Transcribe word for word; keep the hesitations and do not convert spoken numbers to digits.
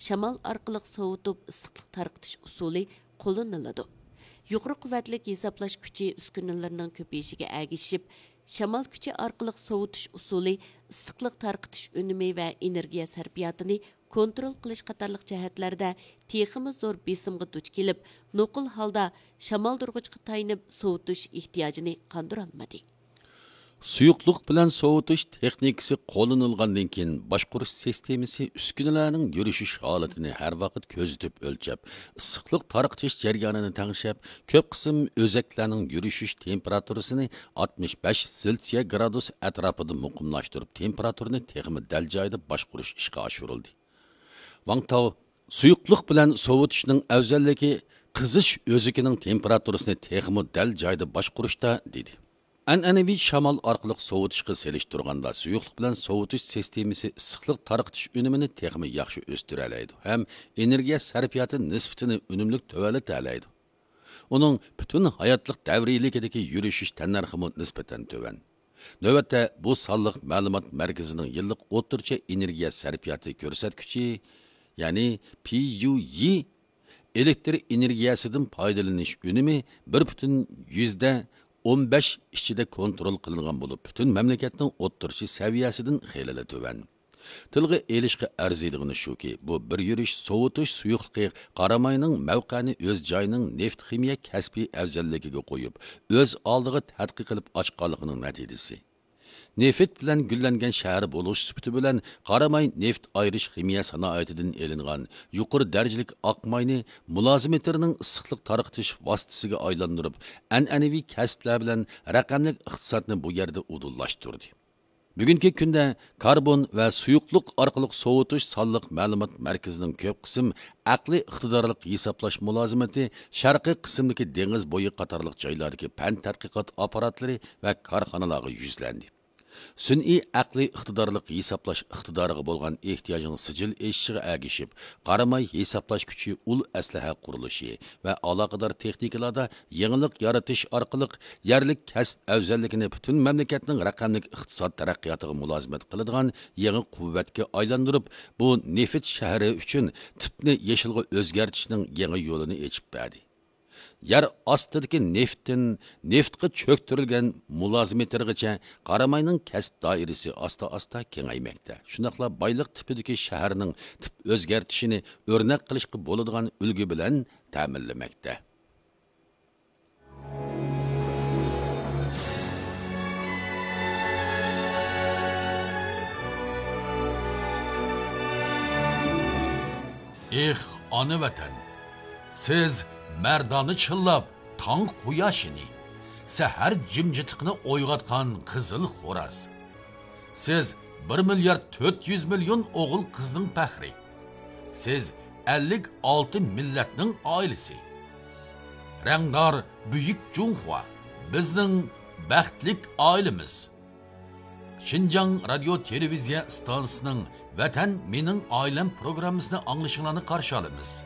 شامال ئارقىلىق سوۋۇتۇپ ئىسسىقلىق تارقىتىش ئۇسۇلى قوللىنىلىدۇ. يۇقىرى قۇۋۋەتلىك ھېسابلاش كۈچى ئۈسكۈنىلىرىنىڭ كۆپىيىشىگە ئەگىشىپ، شامال كۈچى ئارقىلىق سوۋۇتۇش ئۇسۇلى ئىسسىقلىق تارقىتىش ئۈنۈمى ۋە ئېنېرگىيە سەرپىياتىنى كونترول قىلىش قاتارلىق جەھەتلەردە تېخىمۇ زور بېسىمغا دۇچ كېلىپ، نوقۇل ھالدا شامالدۇرغۇچقا تايىنىپ سوۋۇتۇش ئېھتىياجىنى قاندۇرالمىدى. سۇيۇقلۇق بىلەن سوۋۇتۇش تېخنىكىسى قوللىنىلغاندىن كېيىن، باشقۇرۇش سىستېمىسى ئۈسكۈنىلەرنىڭ يۈرۈشۈش ھالىتىنى ھەر ۋاقىت كۆزىتىپ ئۆلچەپ، ئىسسىقلىق تارقىتىش جەريانىنى تەڭشەپ، كۆپ قىسىم ئۆزەكلەرنىڭ يۈرۈشۈش تېمپېراتۇرىسىنى ئاتمىش بەش سېلسىيە گرادۇس ئەتراپىدا مۇقىملاشتۇرۇپ، تېمپېراتۇرىنى تېخىمۇ دەل جايىدا باشقۇرۇش ئىشقا ئاشۇرۇلدى. ۋاڭ تاۋ، سۇيۇقلۇق بىلەن سوۋۇتۇشنىڭ ئەۋزەللىكى قىزىش ئۆزىكىنىڭ تېمپېراتۇرىسىنى تېخىمۇ دەل جايىدا باشقۇرۇشتا، دېدى. ئەنئەنىۋى شامال ئارقىلىق سوۋۇتۇشقا سېلىشتۇرغاندا، سۇيۇقلۇق بىلەن سوۋۇتۇش سىستېمىسى ئىسسىقلىق تارقىتىش ئۈنۈمىنى تېخىمۇ ياخشى ئۆستۈرەلەيدۇ ھەم ئېنېرگىيە سەرپىياتى نىسبىتىنى ئۈنۈملۈك تۆۋەنلىتەلەيدۇ. ئۇنىڭ پۈتۈن ھاياتلىق دەۋرىيلىكىدىكى يۈرۈشۈش تەننەرخىمۇ نىسبەتەن تۆۋەن. نۆۋەتتە بۇ سانلىق مەلۇمات مەركىزىنىڭ يىللىق ئوتتۇرىچە ئېنېرگىيە سەرپىياتى كۆرسەتكۈچى، يەنى پى يۇ يى، ئېلېكتر ئېنېرگىيەسىدىن پايدىلىنىش ئۈنۈمى بىر پۈتۈن يۈزدە ئون بەش ئىچىدە كونترول قىلىنغان بولۇپ، پۈتۈن مەملىكەتنىڭ ئوتتۇرىچە سەۋىيەسىدىن خېلىلا تۆۋەن. تىلغا ئېلىشقا ئەرزىيدىغىنى شۇكى، بۇ بىر يۈرۈش سوۋۇتۇش سۇيۇقلۇقى قاراماينىڭ مەۋقەنى ئۆز جايىنىڭ نېفىت خىمىيە كەسپىي ئەۋزەللىكىگە قويۇپ، ئۆز ئالدىغا تەتقىق قىلىپ ئاچقانلىقىنىڭ نەتىجىسى. نېفىت بىلەن گۈللەنگەن شەھەر بولۇش سۈپىتى بىلەن، قاراماي نېفىت ئايرىش خىمىيە سانائىتىدىن ئېلىنغان يۇقىرى دەرىجىلىك ئاق ماينى مۇلازىمېتىرنىڭ ئىسسىقلىق تارقىتىش ۋاسىتىسىگە ئايلاندۇرۇپ، ئەنئەنىۋى كەسىپلەر بىلەن رەقەملىك ئىقتىسادنى بۇ يەردە ئۇدۇللاشتۇردى. بۈگۈنكى كۈندە كاربون ۋە سۇيۇقلۇق ئارقىلىق سوۋۇتۇش سانلىق مەلۇمات مەركىزىنىڭ كۆپ قىسىم ئەقلىي ئىقتىدارلىق ھېسابلاش مۇلازىمىتى شەرقىي قىسىمدىكى دېڭىز بويى قاتارلىق جايلاردىكى پەن تەتقىقات ئاپپاراتلىرى ۋە كارخانىلارغا يۈزلەندى. سۈنئىي ئەقلىي ئىقتىدارلىق ھېسابلاش ئىقتىدارىغا بولغان ئېھتىياجنىڭ سىجىل ئېشىشىغا ئەگىشىپ، قاراماي ھېسابلاش كۈچى ئۇل ئەسلىھە قۇرۇلۇشى ۋە ئالاقىدار تېخنىكىلاردا يېڭىلىق يارىتىش ئارقىلىق يەرلىك كەسىپ ئەۋزەللىكىنى پۈتۈن مەملىكەتنىڭ رەقەملىك ئىقتىساد تەرەققىياتىغا مۇلازىمەت قىلىدىغان يېڭى قۇۋۋەتكە ئايلاندۇرۇپ، بۇ نېفىت شەھىرى ئۈچۈن تىپنى يېشىلغا ئۆزگەرتىشنىڭ يېڭى يولىنى ئېچىپ بەردى. يەر ئاستىدىكى نېفتتىن نېفتقا چۆكتۈرۈلگەن مۇلازىمېتىرغىچە قاراماينىڭ كەسىپ دائىرىسى ئاستا-ئاستا كېڭەيمەكتە. شۇنداقلا بايلىق تىپىدىكى شەھەرنىڭ تىپ ئۆزگەرتىشىنى ئۆرنەك قىلىشقا بولىدىغان ئۈلگە بىلەن تەمىنلىمەكتە. ئېھ، ئانا ۋەتەن! سىز مەردانە چىللاپ تاڭ قۇياشىنى، سەھەر جىمجىتلىقىنى ئويغاتقان قىزىل خوراز. سىز بىر مىليارد تۆت يۈز مىليون ئوغۇل قىزنىڭ پەخرى. سىز ئەللىك ئالتە مىللەتنىڭ ئائىلىسى. رەڭدار بۈيۈك جۇڭخۇا، بىزنىڭ بەختلىك ئائىلىمىز. شىنجاڭ رادىيو تېلېۋىزىيە ئىستانسىسىنىڭ ۋەتەن مېنىڭ ئائىلەم پروگراممىسىنى ئاڭلىشىڭلارنى قارشى ئالىمىز.